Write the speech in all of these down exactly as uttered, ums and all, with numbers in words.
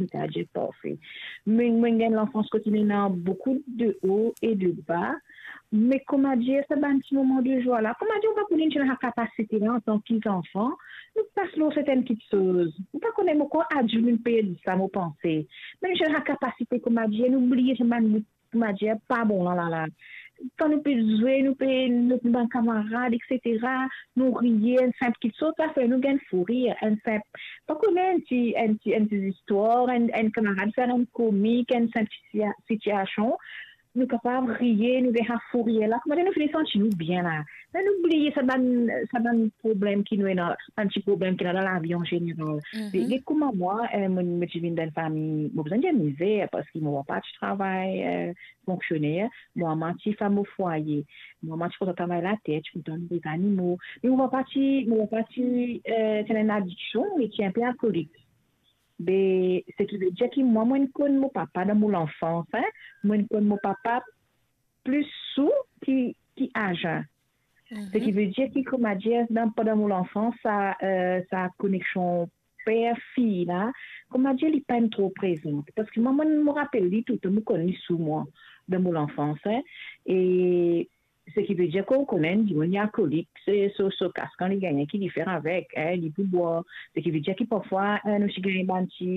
mo ta dir parfe. Me, mo gagn lanfans kot inn ena boukou de o e de ba, me koumadir, sa bann ti moman de zwa la, koumadir, ou pa kone enn ti lakapasite la, antan ki zanfan, nou pas lor sertenn kiksoz. Ou pa kone, mo krwar adilt, nou pe dir sa, mo panse. Me nou ti lakapasite, koumadir, nou bliye sa bann, koumadir, pa bon la, la, la. Kan nou pe zwe, nou pe, nou, nou bann kamarad, et cetera, nou riye, enn sinp kiksoz, sa fer nou gagn fou rir, enn sinp, pa kone, enn ti, enn ti, enn ti zistwar, enn, enn kamarad fer enn komik, enn sinp sitia-, sitiasion, nou kapav riye, nou gagn sa fou rir la, koumadir nou fini santi nou bien la. Me nou bliye sa bann, sa bann problem ki nou ena, bann ti problem ki ena dan lavi an zeneral. Mhm. E, e kouma mwa, eh, mo, mo ti vinn dan enn fami, mo bizin dir mizer, parski mo papa ti travay, eh, fonksioner, mo mama ti fam o fwaye. Mo mama ti kontan travay later, ti kontan nouri zanimo. Me mo papa ti, mo papa ti, eh, ti ena enn adiksion, li ti inpe alkolik. Be, seki vedir ki mwa, mo'nn konn mo papa dan mo lanfans, hein, mo'nn konn mo papa plis sou ki, ki aze. Mhm. Seki vedir ki, koumadir, dan, pandan mo lanfans, sa, eh, sa koneksion per-fiy la, koumadir, li pa'nn tro prezan. Parski mwa, mo'nn, mo rapel li toultan, mo konn li sou mwa, dan mo lanfans, hein. E seki vedir ki ou kone enn dimoun li alkolik, se so, so kas kan li gagne ki li fer avek, hein, li pou bwar. Seki vedir ki parfwa, eh, nou ti gagn bann ti,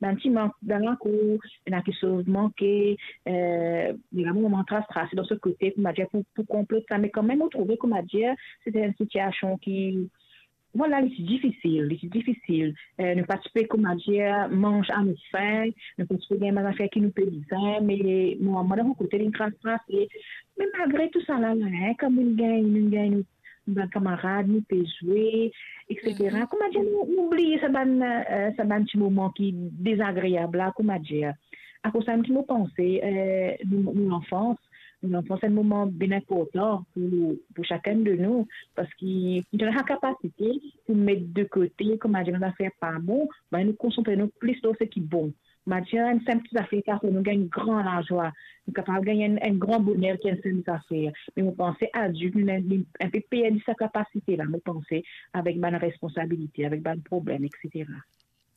bann ti mank dan lakour, ena kiksoz manke, eh, li ena moman tras, tras dan so kote, koumadir, pou, pou konplete sa. Me kanmem, mo trouve, koumadir, se enn sitiasion ki, vwala, li ti difisil, li ti difisil. Eh, nou pa ti pe, koumadir, manz a nou fin, nou pa ti pe gagn bann zafer ki nou pe bizin, me mo mama, dan mo kote, li tras, tras, e, me malgre tou sa la, la, hein, kan nou gagn, nou gagn nou, nou bann kamarad, nou pe zwe, et cetera. Mhm. Koumadir, nou, nou bliye sa bann, eh, sa bann ti moman ki dezagreab la, koumadir. Akoz sa mem ki mo panse, eh, nou, nou lanfans, nou lanfans se enn moman bien inportan pou, pou sakenn de nou, parski nou ena lakapasite pou met de kote, koumadir, bann zafer pa bon, me nou konsantre nou plis lor seki bon. Koumadir, enn sinp ti zafer ki kapav fer nou gagn gran lazwa, nou kapav gagn enn, enn gran boner ki enn sinp zafer. Me mo panse adilt, nou, nou inpe perdi sa kapasite la, mo panse, avek bann responsabilite, avek bann problem, et cetera.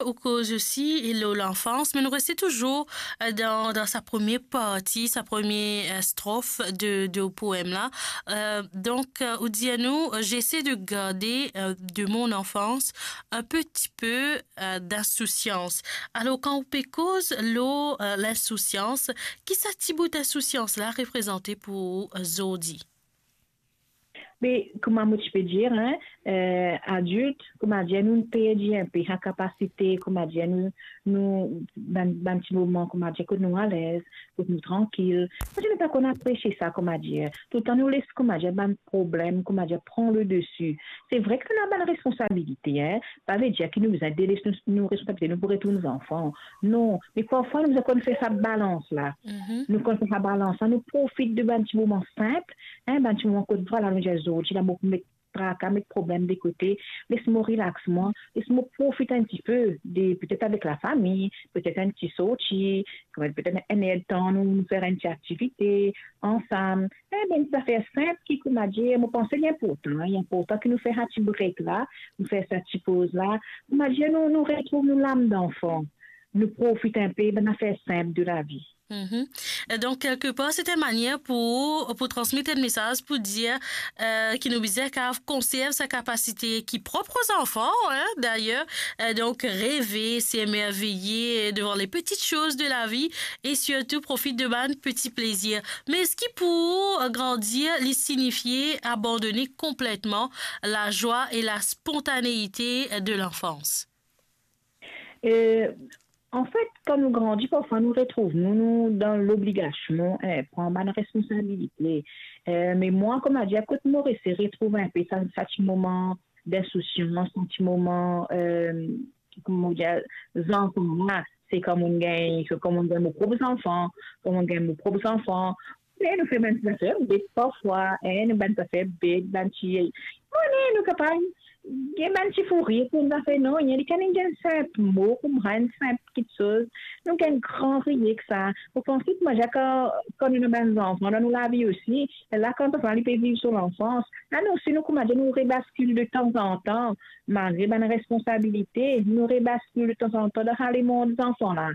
Ou koz osi lor lanfans, me nou reste touzour, eh, dan, dan sa premie parti, sa premie, eh, strof de, de poem la. Eh, donk, eh, ou dir nou, eh, j'essaie de garder, eh, de mon enfance un petit peu, eh, d'insouciance. Alor, kan ou pe koz lor, eh, linsousiyans, ki sa ti bout insousiyans la reprezante pou ou, eh, zordi? Me, kouma mo ti pe dir, hein, eh, adilt, koumadir, nou perdi inpe sa kapasite, koumadir, nou, nou, bann, bann ti moman, koumadir, kot nou alez, kot nou trankil. Koumadir, nou pa konn apresie sa, koumadir. Toultan nou les, koumadir, bann problem, koumadir, pran le desi. Se vre ki nou ena bann responsabilite, hein. Pa vedir ki nou bizin deles nou, nou responsabilite nou pou retourn zanfan. Non, me parfwa nou bizin konn fer sa balans la. Mhm. Nou konn fer sa balans la, nou profit de bann ti moman sinp, hein, bann ti moman kot, vwala, nou dir, zordi la, mo pou met traka, met problem de kote, les mo relax mwa, les mo profit enn tipe de, petet avek lafami, petet enn ti sorti, koumadir, petet enn erdtan nou, nou fer enn ti aktivite ansam. Eh, bann zafer sinp ki, koumadir, mo panse li inportan, li inportan ki nou fer sa ti break la, nou fer sa ti poz la. Koumadir, nou, nou retrouv nou lam danfan, nou profit inpe bann zafer sinp de lavi. Mhm. E donk, kelkepar, se enn manier pou, pou transmet enn mesaz, pou dir, eh, ki nou bizin kav konserv sa kapasite ki prop o zanfan, hein, dayer. Eh, donk, reve, s'emerveiller devant les petites choses de la vie et surtout profit de bann peti plezir. Me eski pou ou, grandir, li signifie abandone konpletman la joie et la spontanéité de l'enfance? Eh, anfet, kan nou grandi, parfwa nou retrouv nou, nou dan lobligasion, eh, pran bann responsabilite. Eh, me mwa, koumadir, kot mo reste retrouv inpe sa, sa ti moman d'insousiyans, sa ti moman, eh, kouma dir, zanfan la, se kan mo'nn gagn, se kan mo'nn gagn mo prop zanfan, kan mo'nn gagn mo prop zanfan. Me nou fer bann ti zafer bet parfwa, hein, nou bann zafer bet, bann ti, mo ne, nou kapav Gagn bann ti fou rir pou enn zafer, non, li kan gagn enn sinp mo kouma enn sinp kitsoz, nou gagn gran rir ek sa. Ou panse ki manzè kan, kan nou ena bann zanfan dan nou lavi osi, la kan zanfan li pe viv so lanfans, la nou osi nou kouma dir nou rebaskil de tanzantan, malgre bann responsabilite, nou rebaskil de tanzantan dan sa lemond zanfan la.